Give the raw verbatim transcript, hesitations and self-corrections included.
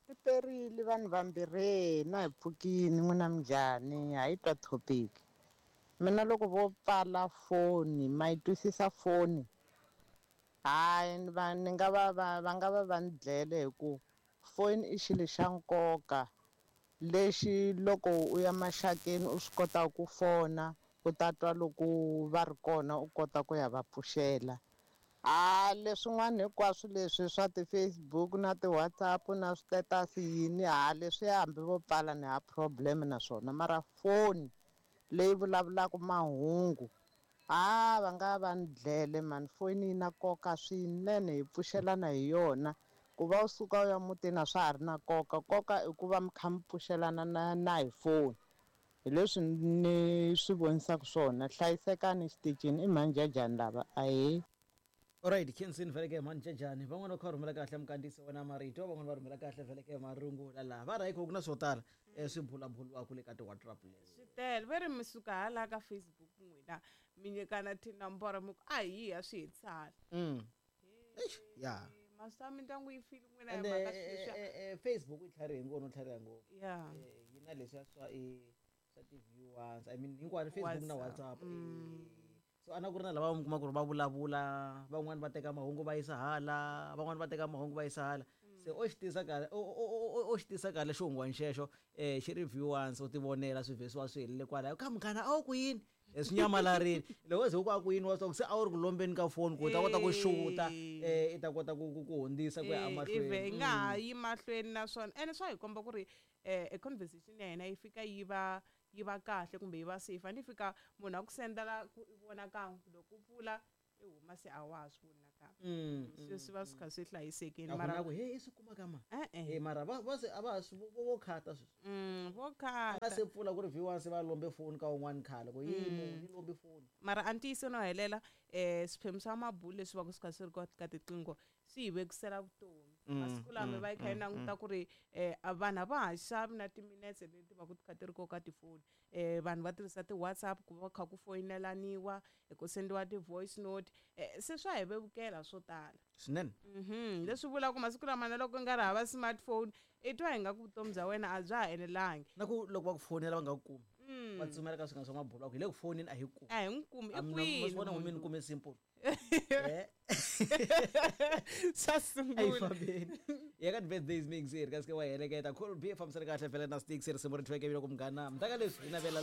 Ri perile vanhu vambirhi na hi pfukini n'wina minjhani ha yi twa topic mina loko vo pfala foni ma yi twisisa foni hayi ni va ni nga va va va nga va va ni dlele hi ku foni i xilo xa nkoka lexi loko u ya maxakeni u swi kotaka ku fona u ta twa loko va ri kona u kota ku ya va pfuxela a leswin'wana hinkwaswo leswi swa ti-Facebook na ti-WhatsApp na swi-status yini ha leswiya hambi vo pfala ni ha problem na swona mara foni leyi vulavulaka mahungu ha va nga va ni dlele mani foni yi na nkoka swinene hi pfuxelana hi yona ku va u suka u ya mutini a swa ha ri na nkoka nkoka i ku va mi kha mi pfuxelana na na hi foni hi leswi ni swi vonisaka swona hlayisekani xitichini i mhanjajani lava ahee. Alright, Kensin vhele ke mhanjajani van'wana va kha va rhumela kahle mukandisi wena marito van'wana va rhumela kahle vhele ke marungula laha va rhayi ku na swo tala eh, swi bulaburiwaka le ka ti-WhatsApp leswi swi tele ve ri mi suka hala ka Facebook n'wina mi nyikana tinomboro mi ku a hi ya swi hetisana mm. Eish, ya maswa mindyangu yi file n'wina hi ende mhaka eh, sweswiya eh, eh, Facebook yi tlharihe ngopfu no tlhariha ngopfu ya Eh, yi na leswiya swa i swa ti-viewers I mean hinkwano Facebook na WhatsApp. WhatsApp eh, so a na ku ri na lava mi kuma ku ri va vulavula van'wani va teka mahungu va yisa hala van'wani va teka mahungu va yisa hala se o xi tisa kahle o- o o- o xi tisa kahle xihungwani xexo um xi ri view once u ti vonela swi vhesiwa swi helele kwalaho ka munghana a wu ku yini Eh, swi nyamalarini loko ze ku a ku yini wa swa ku se a wu ri ku lombeni ka foni ku u ta kota ku xuta um i ta kota ku ku ku hundzisa ku ya ive hi emahlweni nga ha yi mahlweni naswona ene swa hi komba ku ri um e conversation ya hina yi fika yi va yi va kahle kumbe yi va safe a ni fika munhu a ku sendela ku i vona kan'we loko u pfula i huma se a wa ha swi voni nakambe Mm, swi swi va swi kha swi hlayisekile a ku mara na ku he i swi kuma ka ma e-e Eh, mara va va se a va ha swi vo vo khata sweswi Mm, vo a nga khata se pfula ku ri view once va lombe foni ka un'wana khale ku yi munhu yi lombe foni mara a ntiyiso no helela um swiphemu swa mabulu leswi va ku swi kha swi ri ka ka tiqingho swi hi vekisela vutomi masiku lama va yi kha yi languta ku ri um vanhu a va ha xavi na timinetse leti va ku ti kha ti ri ko ka tifoni um vanhu va tirhisa ti-WhatsApp ku va kha ku foyinelaniwa ku sendiwa ti-voice note um se swa hi vevukela swo tala swinene mhm leswi vulaka ku masiku lama na loko nga ri hava smartphone i twa hi nga ku vutomi bya wena a bya ha enelangi na ku loko va ku fonela va nga ku kumi va tsumela ka swinga swa mabulu va ku hi le ku foneni a hi kumi a hi n'wi kumi i A mina- ma kwini swi vona munhu n'wini loyi? kume simple Eh, swa a yi sungula fambeni ya ka ti-birthdays mix ri ka sike wa heleketa cool b fambisana kahle vhele na sticks risimu ri thweke loko munghana mutaka leswi hi navela